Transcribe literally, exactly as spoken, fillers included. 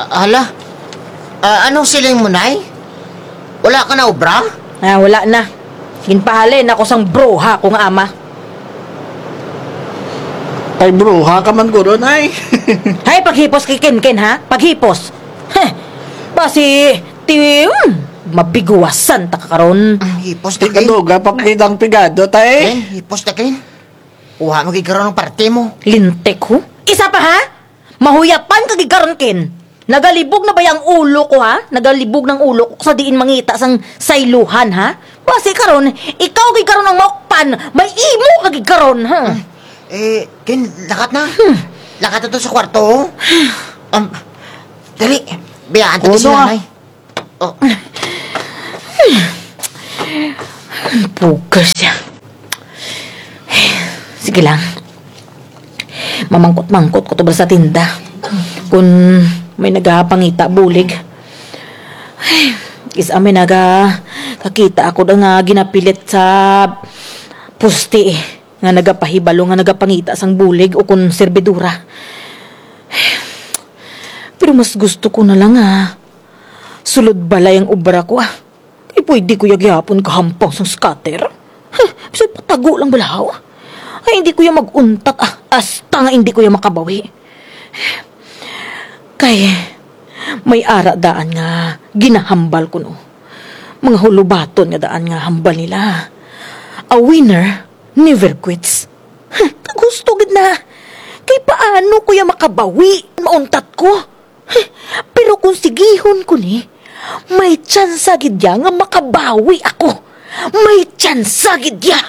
Hala, ah, anong siling mo, Nay? Wala ka naobra? Ah, wala na. Ginpahalin ako sang bruha ko nga ama. Ay, bruha ka man guro, Nay. Hay, paghipos kay Kenken, ha? Paghipos. Heh. Basi, ti, hmm, mabiguwasan ta ka karon. Hipos ta, Ken. Ti kaduga pa kay dang pigado, Tay. Ken, hipos ta, Ken. Kuha mo gid karon ang parte mo. Lintik, ho? Isa pa, ha? Mahuyapan ka gid karon, Ken. Nagalibog na baya ang ulo ko, ha? Nagalibog na ang ulo ko sa diin mangita sang saylohan, ha? Basi karon, ikaw gid karon ang maukpan, may imo ka gid karon, ha? Eh, Ken, lakat na. Hmm. Lakat na to sa kwarto, oh. Um, dali, biyaan ta sila, ah. Nay. Oh. Bugas siya. Sige lang. Mamangkot-mangkot ko to bala sa tinda. Kun may nagapangita bulig. Kis-a may naga-, kakita ako da nga ginapilit sa poste, eh. Nga nagapahibalo nga nagapangita sang bulig ukon serbidora. Pero mas gusto ko na lang nga sulod balay ang obra ko, ah. Kay pwede ko ya gihapon kahampang sang scatter. Huh, bisan patago lang bala haw. Ay, indi ko ya mag-untat, ah, hasta nga indi ko ya makabawi. Kay, may ara daan nga ginahambal kuno. Mga hulubaton nga daan nga hambal nila. A winner never quits. Huh, kag husto gid na. Kay paano ko ya makabawi? Mauntat ko. Pero kon sigihon ko ni, may tsansa gid ya nga makabawi ako. May tsansa gid ya.